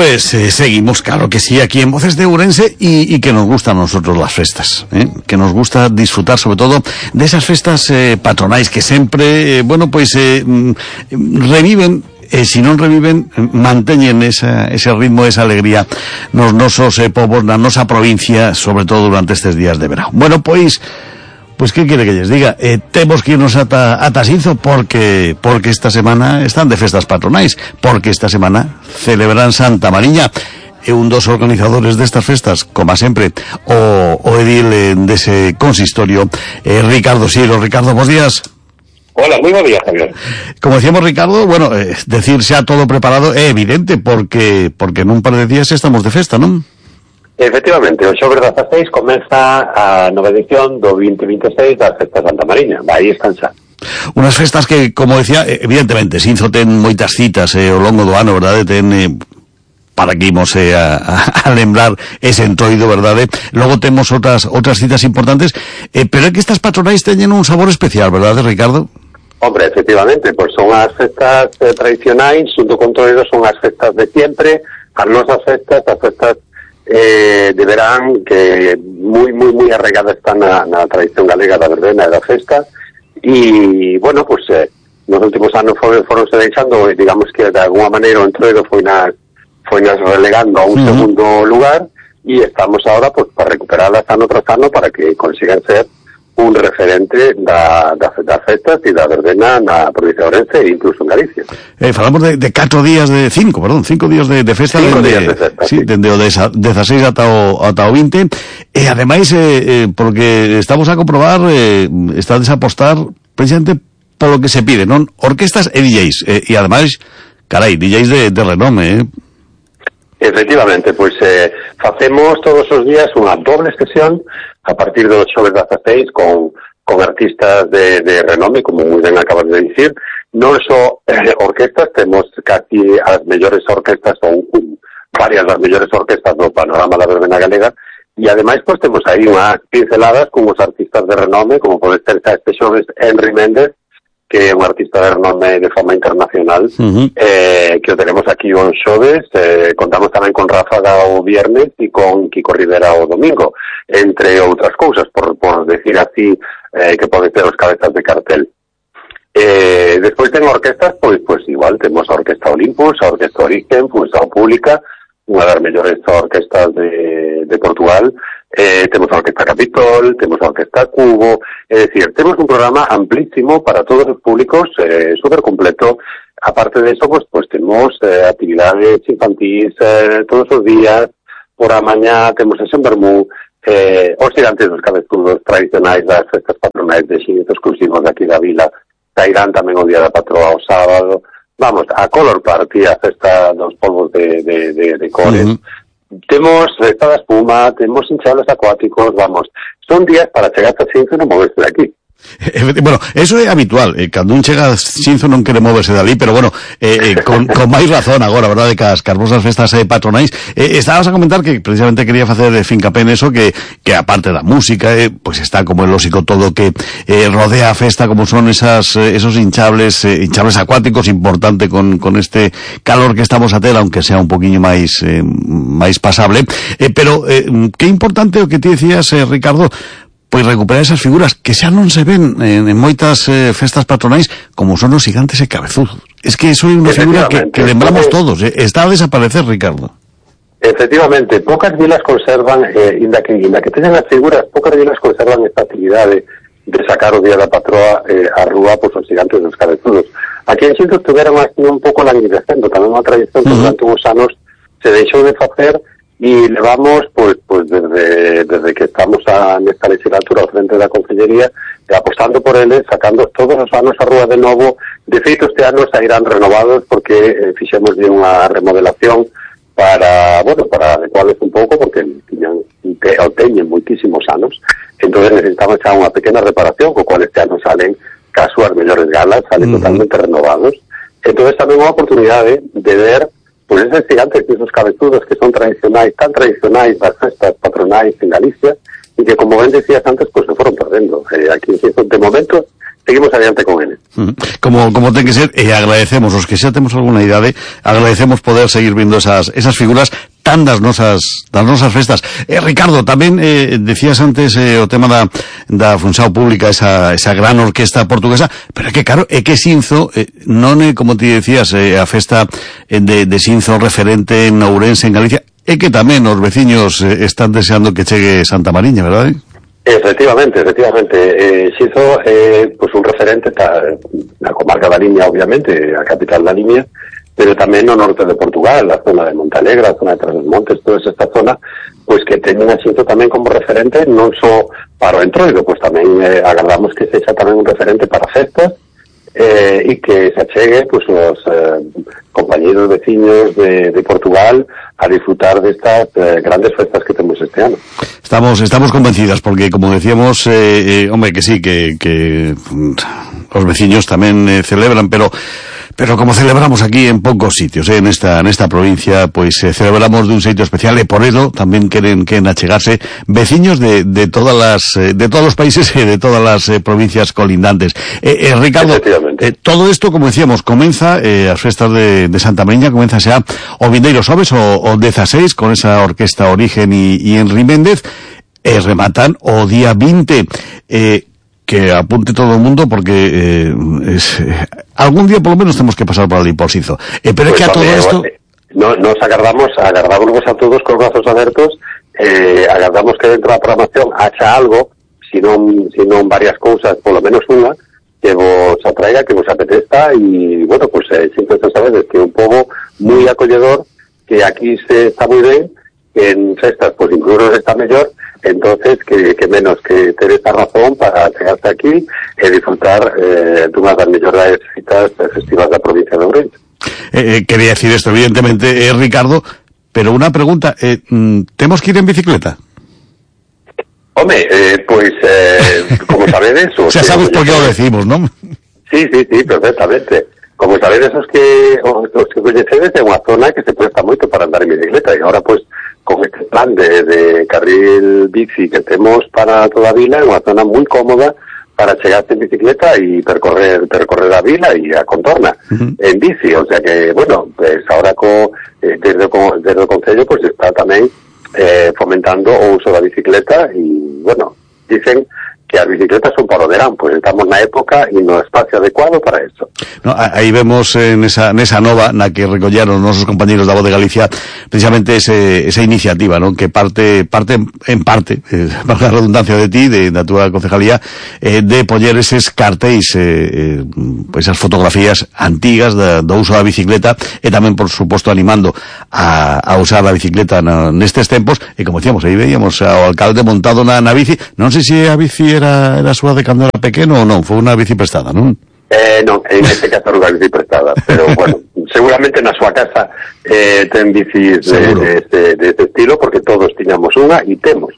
pues seguimos, claro que sí, aquí en Voces de Ourense y que nos gustan a nosotros las festas, que nos gusta disfrutar sobre todo de esas festas patronais que siempre, reviven, si non reviven, manteñen ese ritmo, esa alegría nos nosos povos, na nosa provincia, sobre todo durante estes días de verano. Bueno, pois que quere que lles diga? Temos que irnos ata Sinzo porque esta semana están de festas patronais, porque esta semana celebran Santa Mariña. É un dos organizadores destas festas, como sempre, o edil dese consistorio, Ricardo Siro. Ricardo, bons días. Hola, muy buen día, Javier. Como decíamos, Ricardo, bueno, decir xa todo preparado é evidente porque nun par de días estamos de festa, non? Efectivamente, o xoves 16 comeza a nova edición do 2026 das festas Santa Mariña. Aí están xa. Unas festas que, como decía, evidentemente, Sinzo ten moitas citas ao longo do ano, verdade? Ten para que imos a lembrar ese entroido, verdade? Logo temos outras citas importantes, pero é que estas patronais teñen un sabor especial, verdade, Ricardo? Hombre, efectivamente, pois son as festas tradicionais, xunto con todo son as festas de siempre, as nosas festas, as festas de verán que moi arraigadas están na tradición galega da verbena e da festa, e, bueno, pois nos últimos anos foronse deixando, digamos que de alguma maneira o entroido foi nas relegando a un segundo lugar, e estamos ahora pues para recuperarlas ano tras ano para que consigan ser un referente das festas e da verbena na provincia de Ourense e incluso en Galicia. Falamos de 5 días de festa. 5 días de festa, sí. Dende o 16 ata o 20, e ademais, porque estamos a comprobar, estades a apostar precisamente polo que se pide, non? Orquestas e DJs, e ademais, carai, DJs de renome, Efectivamente, pois facemos todos os días unha doble sesión a partir do xoves 16 con artistas de renome, como moi ben acabas de dicir. Non só orquestas, temos casi as mellores orquestas ou varias das mellores orquestas do panorama da verbena galega, e ademais pois temos aí unhas pinceladas con os artistas de renome, como pode ser este xoves Henry Méndez, que é un artista de renome de fama internacional, que o tenemos aquí o xoves. Contamos tamén con Ráfaga o viernes e con Kiko Rivera o domingo, entre outras cousas, por decir así, que pode ser os cabezas de cartel. Despois ten orquestas, pois igual, temos a Orquesta Olympus, a Orquesta Origen, pois a Pública, unha das mellores orquestas de Portugal. Temos a Orquesta Capitol, temos a Orquesta Cubo, é dicir, temos un programa amplísimo para todos os públicos, super completo. Aparte de eso, pues temos actividades infantis todos os días. Por a mañá temos sesión vermú, os gigantes dos cabezudos tradicionais das festas patronais de xinetos exclusivos daqui da vila, sairán tamén o día da patroa o sábado. Vamos, a Color Party, a festa dos polvos de cores. Temos festa da espuma, temos hinchables acuáticos, vamos, son días para chegar a Sinzo e non moverse de aquí. Bueno, eso é habitual, cando un chega a Sinzo non quere moverse dali, pero bueno, con máis razón agora, verdade, que as vosas festas patronais. Estabas a comentar que precisamente quería facer fincapé en eso, que aparte da música, pues está como el lógico todo que rodea a festa, como son esos hinchables acuáticos, importante con este calor que estamos a ter, aunque sea un poquinho máis pasable, pero que importante o que ti decías, Ricardo, pois recuperar esas figuras que xa non se ven en moitas festas patronais, como son os gigantes e cabezudos. Es que eso é unha figura que lembramos todos, está a desaparecer, Ricardo. Efectivamente, pocas vilas conservan, inda que teñan as figuras, pocas vilas conservan esta actividade de sacar o día da patroa a rúa pois os gigantes dos cabezudos. Aquí en Sinzo estuveron así un pouco languidecendo, tamén unha tradición que durante uns anos se deixou de facer. E levamos, pois desde que estamos nesta legislatura ao frente da Consellería, apostando por eles, sacando todos os anos a rúa de novo. De feito, este ano sairán renovados porque fixemos unha remodelación para adecuarles un pouco, porque teñen moitísimos anos. Entón necesitamos xa unha pequena reparación, co cual este ano salen cas súas mellores galas, salen totalmente renovados. Entón tamén unha oportunidade de ver pues esos gigantes y esos cabezudos que son tradicionais, tan tradicionais das festas patronais en Galicia, y que, como ben decías antes, pues se fueron perdendo. Aquí en Sinzo, de momento, seguimos adiante con ele. Como ten que ser, e agradecemos, os que xa temos alguna idade, agradecemos poder seguir vindo esas figuras tan das nosas festas. Ricardo, tamén decías antes o tema da Funchao Pública, esa gran orquesta portuguesa, pero é que claro, é que Xinzo non é, como ti decías, a festa de Xinzo referente en Ourense, en Galicia, é que tamén os veciños están deseando que chegue Santa Mariña, verdade? Efectivamente. Xinzo pues un referente na comarca da Limia, obviamente, a capital da Limia, pero tamén no norte de Portugal, a zona de Montalegre, a zona de Trás-os-Montes, toda esta zona, pois que teñen a Xinzo tamén como referente non só para o Entroido, pois tamén agardamos que sexa tamén un referente para festas e que se achegue pois os compañeros veciños de Portugal a disfrutar destas grandes festas que temos este ano. Estamos convencidas porque, como decíamos, hombre, que sí, que os veciños tamén celebran, pero como celebramos aquí en pocos sitios, en esta provincia, pues celebramos de un sitio especial, e por eso tamén queren achegarse veciños de todos los países e de todas las provincias colindantes. Ricardo, todo esto, como decíamos, comeza as festas de Santa Mariña, comeza xa o vindeiro xoves o 16 con esa orquesta Origen y Henry Méndez, e rematan o día 20. Que apunte todo el mundo porque algún día por lo menos tenemos que pasar por allí, por Xinzo. Pero es que a todo esto... Nos agardamos a todos con brazos abiertos, agardamos que dentro da programación haxa algo, si non varias cousas, por lo menos unha, que vos atraiga, que vos apetezca, e, bueno, pues siempre sabedes que é un pobo moi acolledor, que aquí se está moi ben, que en festas, pues incluso está mellor. Entonces, que menos que ter esta razón para chegarse aquí e disfrutar dunha das mellores citas festivas da provincia de Ourense. Quería decir esto, evidentemente, Ricardo, pero una pregunta, ¿temos que ir en bicicleta? Home, pues, como sabedes... Xa sabes por qué lo decimos, ¿no? Sí, perfectamente. Como sabedes, os que coñecedes, é unha zona que se presta moito para andar en bicicleta, e agora, pues, con este plan de carril bici que temos para toda a vila, é unha zona moi cómoda para chegarse en bicicleta e percorrer a vila e a contorna en bici, o sea que, bueno, pues ahora desde o Concello pues está tamén fomentando o uso da bicicleta e, bueno, dicen que as bicicletas son para o verán, pues estamos na época e no espacio adecuado para eso. No, aí vemos nesa nova na que recolleron nosos compañeros da Voz de Galicia precisamente esa iniciativa, ¿no? Que parte en parte, para a redundancia de ti, da túa concejalía, de poñer eses cartéis, esas fotografías antigas do uso da bicicleta, e tamén, por suposto, animando a usar a bicicleta nestes tempos, e como decíamos, aí veíamos ao alcalde montado na bici. Non sei se a bici era súa de cando era pequeno ou non, foi unha bici prestada, non? Non, en este caso era unha bici prestada, pero bueno, seguramente na súa casa ten bicis de este estilo, porque todos tiñamos unha e temos.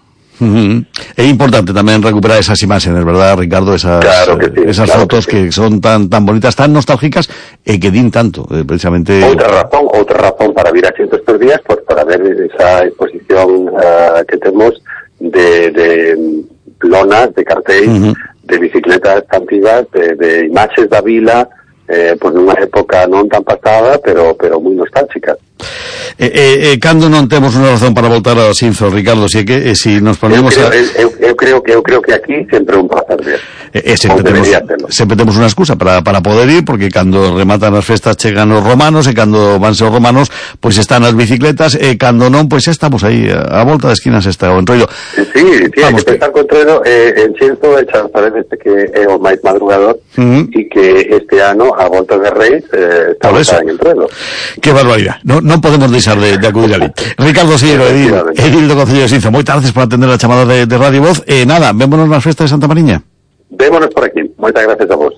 É importante tamén recuperar esas imágenes, verdad, Ricardo? Claro que sí, esas fotos que son tan bonitas, tan nostálgicas, e que din tanto, precisamente... Outra razón para vir a Xinzo estes días, pues para ver esa exposición que temos de lonas, de cartéis, de bicicletas antigas, de imaxes da vila, pues nunha época non tan pasada, pero moi nostálgica. Cando non temos unha razón para voltar a Xinzo, Ricardo, si nos ponemos eu creo que aquí sempre un placer ver. Sempre temos unha excusa para poder ir, porque cando rematan as festas chegan os romanos, e cando vanse os romanos, pois están as bicicletas, e cando non, pois estamos aí, a volta de esquinas está o Entroido. Sí, hai que pensar co Entroido, en Xinzo, xa sabes que é o máis madrugador, e que este ano, a volta de Reis, estamos en Entroido. Que barbaridade, non podemos deixar de acudir ali. Ricardo Sillero, edil do Concello de Xinzo, moitas gracias por atender a chamada de Radio Voz, e nada, vémonos nas festas de Santa Mariña. Vémonos por aquí, moitas gracias a vos.